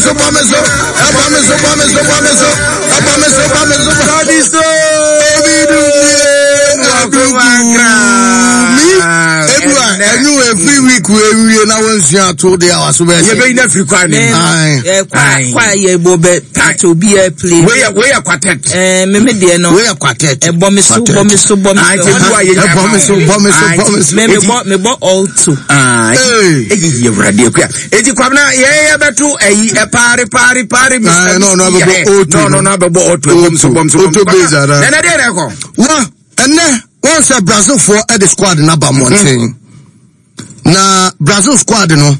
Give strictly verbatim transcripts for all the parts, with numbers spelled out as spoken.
so, bɔ me so, ɛbɔ me so, bɔ me so, bɔ me so, ɛbɔ me so, bɔ me so. Sɔdi so. Obi du mie aduku mi ebi wa ɛnu every week wo ewie na wɔn nsua ato de a waso bɛ Yɛ bɛ yi na firi kwan ne mu. Aye. Aye. Kwa yɛ bɔ bɛ ati obi yɛ play. Wei yɛ wei yɛ quartet. Ɛɛ meme deɛ no. Wei yɛ quartet. Ɛbɔ me so, bɔ me so, bɔ me Ayi so. ti bu a yɛ nya Ɛbɔ me so, bɔ me so, bɔ me so. Me me bɔ me bɔ all two. Hey. Eyi yɛ wurade akuya. Eti kwamina yɛ yɛ bɛ to ɛyi ɛpaari paari paari. Aye, no, no, abɛbɔ auto No, no, no abɛbɔ auto. Bɔm so bɔm so bɔm so. Auto base ara. Nana deɛ na ɛkɔ. Wa ɛnɛ wɔn sɛ Brazilfoɔ ɛde squad n'aba mmɔnten na Brazil squad no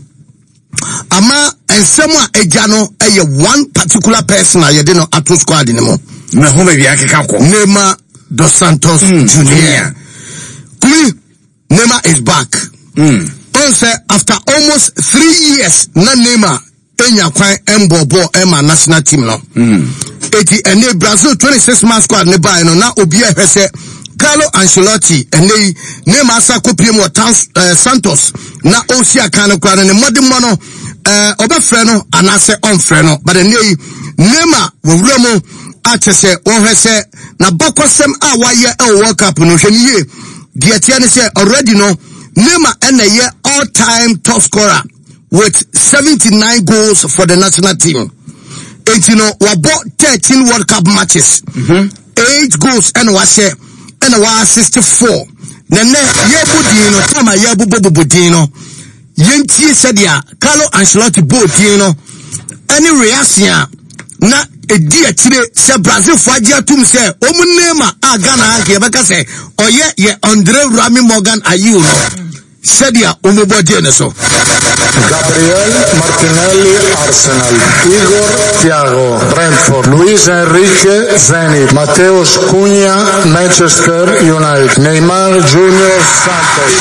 ama nsɛm a agya no ɛyɛ one particular person a yɛde no ato squad no mu. Mɛ ho baabi akeka kɔ. Neymar dos Santos Junior. Kumi, Neymar is back. Mm. Ɔn sɛ after almost three years na Neymar enya kwan ɛmbɔ bɔɔl ɛma national team no. Eti ɛnɛ Brazil twenty six man squad ne baa no na obi ɛhwɛ sɛ Carlo Ancelotti ɛnɛ yi Neymar asa kɔpie mu wɔ Tans ɛɛ Santos na ɔsi akan no koraa no ne mmɔdemmɔ no ɛɛ ɔbɛfrɛ no anaasɛ ɔnfrɛ no, but ɛnɛ yi Neymar wɔwura mu akyɛ sɛ wɔhwɛ sɛ n'abakɔsɛm a wayɛ ɛwɔ World Cup no. Hwɛ ne yie, deɛ teɛ ne sɛ already no Neymar ɛna ɛyɛ all time top scorer with seventy nine goals for the national team. Eti no wabɔ thirteen World Cup matches, eight goals ɛna wahyɛ ɛna wa assist four. Na nɛ yɛbɔ din no time a yɛbobɔ bobɔ din no, yɛntie sɛdeɛ Carlo Ancelotti bɔɔ din no ɛne reaction a na ɛdi akyire sɛ Brazilfoɔ agye atom sɛ ɔmu Neymar a Ghana anka yɛbɛka sɛ ɔyɛ yɛ Andre Rami Morgan Ayew no, sɛdeɛ ɔmobɔ gye ne so. Gabriel Martinelli, Arsenal. Igor Thiago, Brentford. Luis Enrique, Zenit. Mateus Cunha, Manchester United. Neymar Junior Santos.